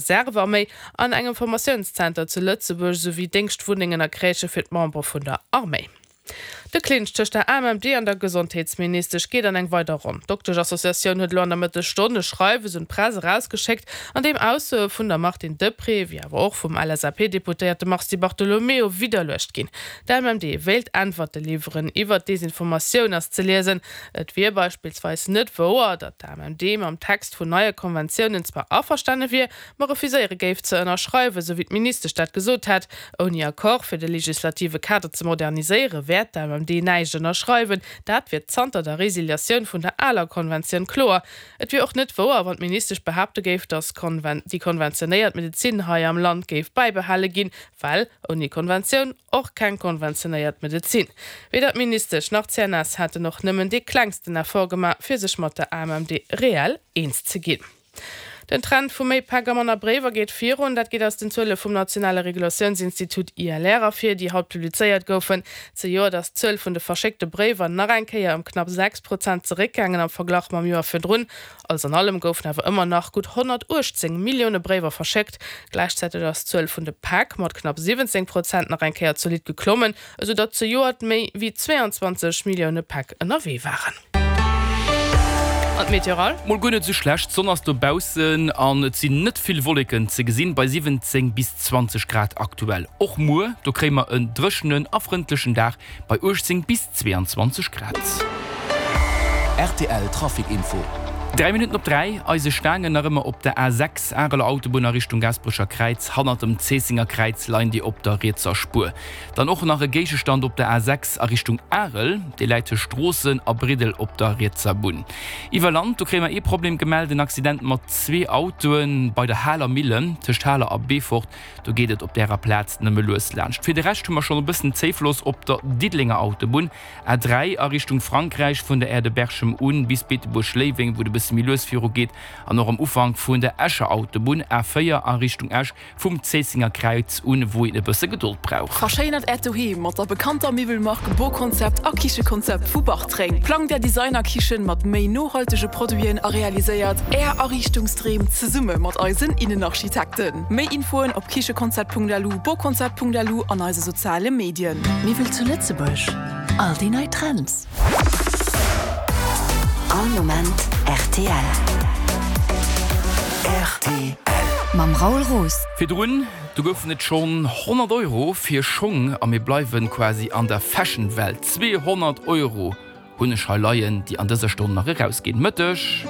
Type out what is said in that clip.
Reservearméi an engem Formatiounszenter zu Lëtzebuerg esouwéi Déngschtwunnengen a Crèchë fir d'Membere vun der Arméi. De Clinch tëscht der AMMD an der Gesondheetsministesch geet an eng weider Ronn. D'Dokteschassociatioun huet elo an der Mëttesstonn e Schreiwes un d'Press erausgeschéckt, an deem Aussoe vun der Martine Deprez, wéi awer och vum LSAP-Deputéierte Mars Di Bartolomeo widderluecht ginn. D'AMMD wéilt Äntwerte liwweren. Iwwert Desinformatioun ass ze liesen, et wier beispillsweis net wouer, datt d'AMMD mam Text vun neie Konventiounen zwar averstane wier, ma refuséiere géif ze ënnerschreiwen, sou wéi d'Ministesch dat gesot hätt. Ouni Accord fir de legislative Kader ze moderniséiere wäert d'AMMD näischt ënnerschreiwen. Dat wier zanter der Resiliatioun vun der aler Konventioun kloer. Et wier och net wouer, wann d'Ministesch behaapte géif, datt déi konventionéiert Medezin hei am Land géif bäibehale ginn, well ouni Konventioun och keng konventionéiert Medezin. Weder d'Ministesch nach d'CNS hätten och nëmmen dee klengsten Effort gemaach, fir sech mat der AMMD reell eens ze ginn. Den Trend vu méi Päck a manner Bréiwer geet virun. Dat geet aus den Zuele vum nationale Regulatiounsinstitut ILR ervir, déi haut publizéiert goufen. Zejoert ass d'Zuel vun de verschéckte Bréiwer nach eng Kéier ëm knapp 6 Prozent zeréckgaangen am Verglach mam Joer virdrun. Alles an allem goufen awer ëmmer nach gutt 118 Millioune Bréiwer verschéckt. Gläichzäiteg ass d'Zuel vun de Päck mat knapp 17 Prozent nach eng Kéier zolidd geklommen, esou datt zejoert méi wéi 22 Millioune Päck ënnerwee waren. An d'Meteoral? Mol guer net esou schlecht, d'Sonn ass dobaussen an et sinn net vill Wolleken ze gesinn, bei 17 bis 20 Grad aktuell. Och muer, do kréie mer en dréchenen a frëndlechen Dag bei 18 bis 22 Grad. Rtl Trafic Info. 3 Minutten op 3, eise Staangen nach ëmmer op der A6, Areler Autobunn a Richtung Gaasperecher Kräiz. Hannert dem Zéissenger Kräiz leien déi op der rietser Spuer. Dann och nach e Géigestand op der A6 a Richtung Arel, dee läit tëscht Stroossen a Briddel op der rietser Bunn. Iwwer Land, do kréie mer ee Problem gemellt, en Accident mat zwee Autoe bei der Haler Millen, tëscht Haler a Beefort. Do geet et op därer Plaz nëmme lues laanscht. Fir de Rescht hu mer schonn e bëssen Zéifloss op der Diddelenger Autobunn, A3 a Richtung Frankräich, vun der Aire de Berchem un bis Beetebuerg-Léiweng, wou et e bësse méi lues virugeet, an och am Ufank vun der Escher Autobunn, A4 a Richtung Esch, Vum Zéissenger Kräiz un, wou een e bësse Gedold brauch. Verschéinert Äert Doheem mat der bekannter Miwwelmark Boconcept a Kichekonzept vu Bartreng. Plangt Är Designerkichen mat méi nohaltege Produiten a realiséiert Är Ariichtungsdreem zesumme mat eisen Innenarchitekten. Méi Infoen op kichekonzept.lu, boconcept.lu an eise soziale Medien. Miwwel zu Lëtzebuerg, all déi nei Trends. All Moment rtl. Rtl. Mam Raoul Roos. Virdrun, do goufen et schonn 100 Euro fir Schong a mir bleiwen quasi an der Fashion-Welt. 200 Euro hunn ech hei leien, déi an dëser Stonn nach erausginn. Mëtteg.